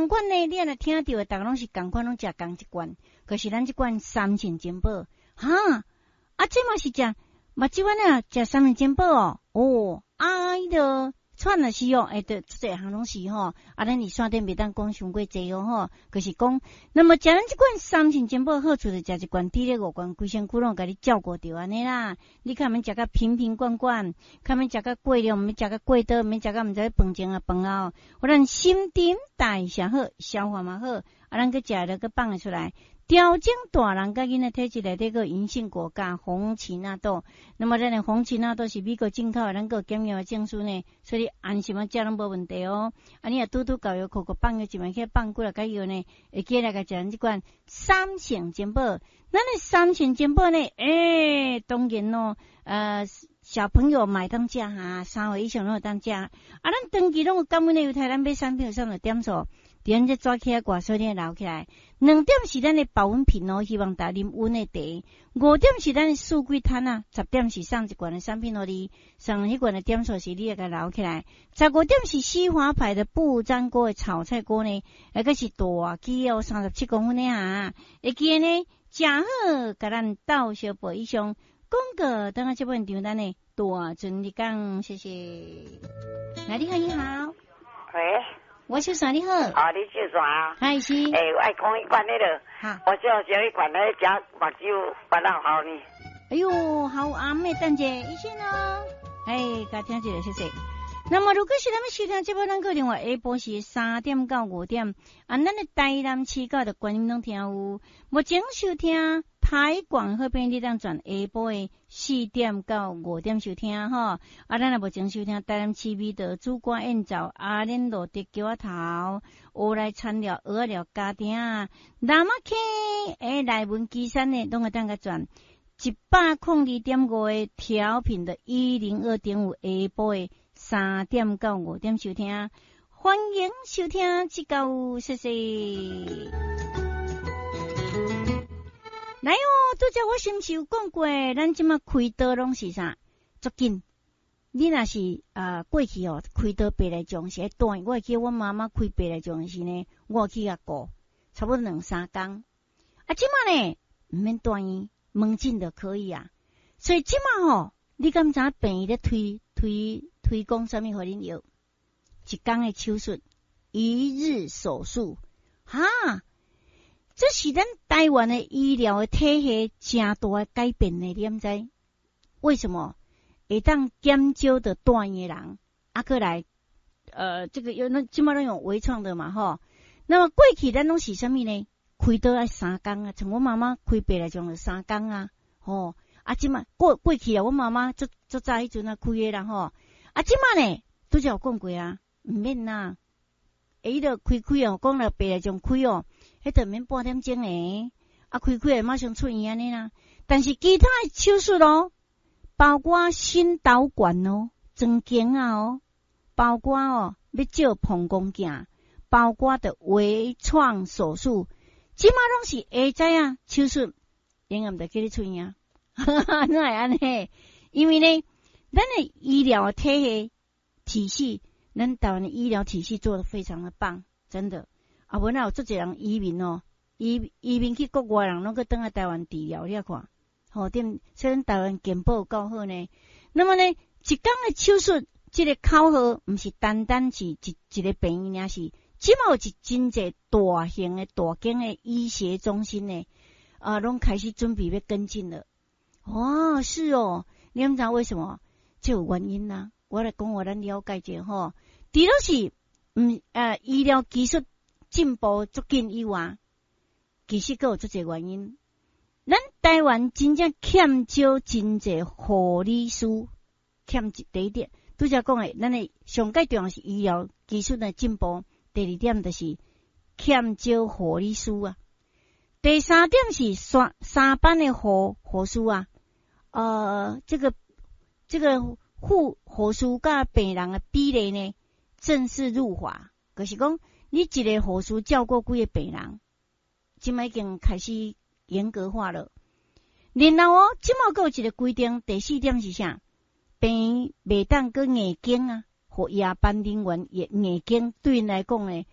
仝款呢，你若聽著的，逐家攏是仝款，攏食仝一罐。可是咱這罐三聖珍寶，哈，啊，這嘛是食目睭安呢，食三聖珍寶哦，哦，啊，彼个喘也是哦，欸，對，足濟項攏是吼，啊，咱佇線頂袂當講傷過濟哦吼，就是講，那麼食咱這罐三聖珍寶好處就食一罐，佇咧五罐，規身軀攏共你照顧著按呢啦。你較免食甲瓶瓶罐罐，較免食甲過量，毋免食甲過多，毋免食甲毋知飯前啊飯後，予咱新陳代謝好，消化嘛好，啊，咱閣食了閣放會出來。調整大人佮囡仔體質內底閣銀杏果佮紅芪納豆，那麼咱的紅芪納豆是美國進口的，咱閣有檢驗的證書呢，所以安心啊食攏無問題哦。啊，你若拄拄到藥庫，閣放藥一萬去放幾若個藥呢，會記來共食咱這款三聖珍寶。咱的三聖珍寶呢，欸，當然咯，小朋友嘛會當食哈，3歲以上攏會當食。啊，咱長期攏有感恩的猶太，咱買產品有啥物點數？佇咱這紙起掛，所以你留起來。2點是咱的保溫瓶哦，希望大家啉溫的茶。5點是咱的四季攤啊，10點是送一罐的產品予你，送彼罐的點數是你會共留起來。15點是西華牌的不粘鍋的炒菜鍋呢，彼個是大支哦，37公分的啊，會記得呢，誠好，共咱鬥相報以上廣告，等下這本張單呢，大陣你講，謝謝。來，你好，你好。喂。我秀山你好。啊，你秀山啊？係是。欸，我愛講彼款彼个，我少少彼款咧食目睭腹老喉呢。哎喲，好暗的，等者醫生哦。哎，共聽一下，謝謝。那麼，如果是咱們收聽這部，咱閣另外下晡時3點到5點，啊，咱的台南市到的觀音攏聽有。目前收聽台廣那邊，你當轉下晡的4點到5點收聽吼。啊，咱若目前收聽台南市味道主管宴灶阿蓮路竹橋仔頭，烏來田寮蚵仔寮家庭南仔坑欸內文旗山的，攏會當共轉102.5的調頻的102.5下晡的3點到5點收聽，歡迎收聽，這個謝謝。來哦，拄才我是毋是有講過，咱這馬開刀攏是啥？足緊。你若是啊過去哦，開刀白內障是愛斷，我會記得阮媽媽開白內障時呢，我有去共顧，差不多兩三工。啊，這馬呢，毋免住院，門診就可以啊。所以這馬吼，你敢知影病院咧推推推廣啥物予恁藥？一工的手術，一日手術，哈！這是咱台灣的醫療的體系誠大的改變呢，你敢知？為什麼會當減少著住院的人，啊，閣來，這個有那這馬攏用微創的嘛，吼。那麼過去咱攏是啥物呢？開刀愛三工啊，像阮媽媽開白內障就三工啊，吼。啊，這馬過過去啊，阮媽媽足足早彼陣啊開的啦，吼。啊，這馬呢，拄才有講過啊，毋免啦。欸，彼個開開哦，講了白內障開哦，彼就免半點鐘的，啊，開開馬上出院按呢啦。但是其他的手術咯，包括心導管哦，裝鏡仔哦，包括哦，欲照膀胱鏡，包括著微創手術，這馬攏是下早啊手術，永遠就叫你出院。哈哈，哪會按呢？因為呢，咱的醫療體系體系，咱台灣的醫療體系做得非常的棒，真的。啊，無哪有足濟人移民哦，移移民去國外人攏閣轉來台灣治療，你看，吼對，所以咱台灣健保夠好呢。那麼呢，一工的手術，這個口號毋是單單是一一個病院，爾是這馬有一真濟大型的大間的醫學中心呢，啊，攏開始準備欲跟進了。哦，是哦，你毋知為什麼？這有原因啊。我來講，予咱了解者吼，除了是毋醫療技術進步足緊以外，其實閣有足濟原因。咱台灣真正欠少真濟護理師，欠一第一點，拄才講的，咱的上蓋重要是醫療技術的進步。第二點就是欠少護理師啊。第三點是三三班的護護士啊，這個護護士佮病人的比例呢，正式入法，就是講你一個護士照顧幾个病人，這馬已經開始嚴格化了。然後哦，這馬閣有一個規定，第四點是啥？病院袂當閣硬頸啊，予夜班人員硬硬頸，對𪜶來講呢，